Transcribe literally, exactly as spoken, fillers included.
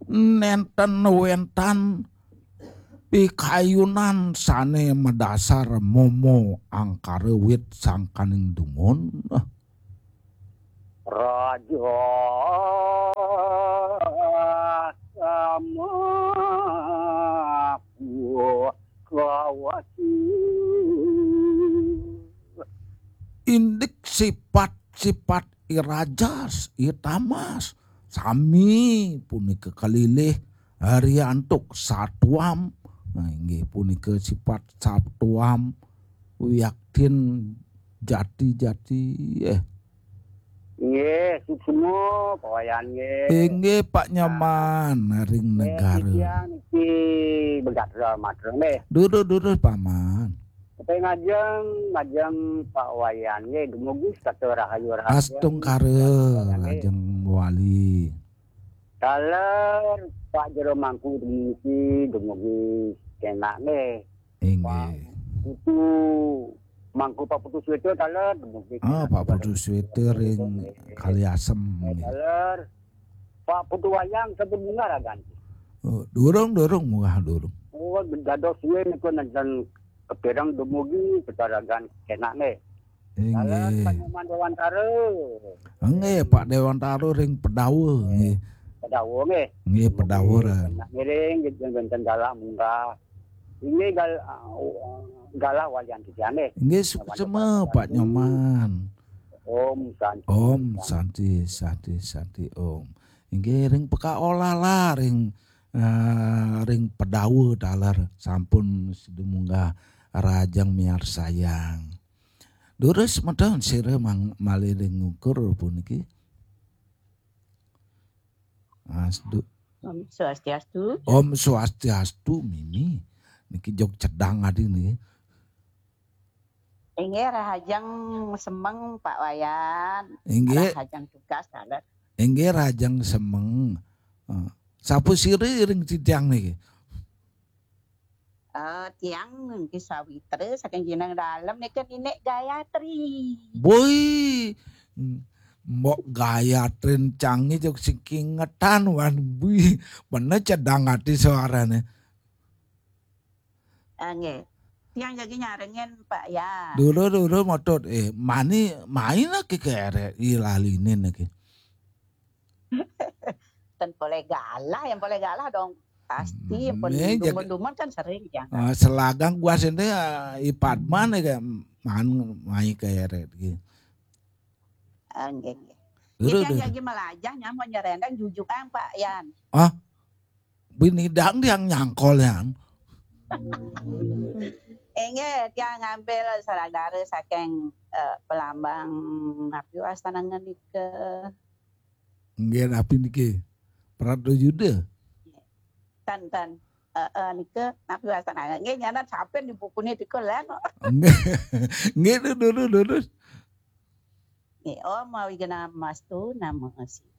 Nénten wénten pikayunan sané madasar momo angkara wit sangkaning dumun. Raja sama kawasi. Indik sifat-sifat I Rajas, I Tamas, sami punika kalilih hari antuk satuam. Nah, inggih punika sifat satuam wiaktin jati-jati. Eh. Nggih, suksma, Pak Wayan nggih. Inggih, Pak Nyoman, ring Nggih, negara. Titiang niki begatra matra nggih. Durus, durus, Paman. Tapi ngajeng, ngajeng Pak Wayan nggih, dumugi setata rahayu rahayu. Astungkara, Pak Wayan nggih. Ajeng wali. Taler Pak Jero Mangku niki dumugi kenak nggih. Inggih. Pak Putu Mangku Pak Putu Sweta taler dumugi Ah, kenak Pak juga Putu dumugi Sweta kenak ring nggih. Kali Asem nggih. Taler Pak Putu Wayang sampun munggah ragan. Oh, durung, durung, munggah durung. Oh, dados suwe niku nenten kepireng dumugi kecaragan kenak nggih. Inggih. Dalam Pak Nyoman Dewantara. Inggih, Pak Dewantara ring Pedawa, nggih. Pedawa nggih. Nggih, Pedawa ran. Nak ngiring nggih wonten galah munggah. Inggih gal-, galah walian titiang nggih. Inggih, suksma, Pak Nyoman. Om Santi. Om Santi, Santi, Santi, Om. Inggih ring pekaolah lah ring, eh, ring Pedawa taler sampun sida munggah rajang miarsayang. Durus semeton sira mang-, malih ring ngukur puniki. Asdu. Om Swastiastu. Om Swastiastu, Mimi. Niki jog cedang adi niki. Inggih rahajeng semeng Pak Wayan. Inggih. Rahajeng tugas taler. Inggih rahajeng semeng. Eh, sapa sira ring titiang niki? Eh, tiang niki sawitra saking Jeneng Dalem niki Ninik Gayatri. Boi. Mbok Gayatri cangé jog sing kingetan wan bui. Bener cedang ati suarane. Ah, nggih. Tiang jagi nyarengin Pak ya. Dulu, dulu, motut. Eh, mani, main lagi ke eret, ilalinin lagi. Ten boleh galah, yang boleh galah dong. Pasti, Hmm, pun eh, jaga dumun-dumun kan sering ya. Eh, selagang gua sini, eh, ipat mana kayak man, main ke eret gitu. Ah, nggih, nggih. Dulu, Tiang dulu. Jagi melajah nyamuk nyerendang jujukan Pak Yan. Ah, binidang tiang nyangkol yang. Inggih, tiang ngambil saudara saking, eh, Pelambang napi wastanangan nika. Nggih, napi niki? Prado Yuda. Tan, tan. Eh, eh, nika napi wastanangan. Nggih, nyanan sampeyan di bukune nika lan. Nggih. Nggih, durus, durus. Nggih, Om Awighnamastu Namo Siddham.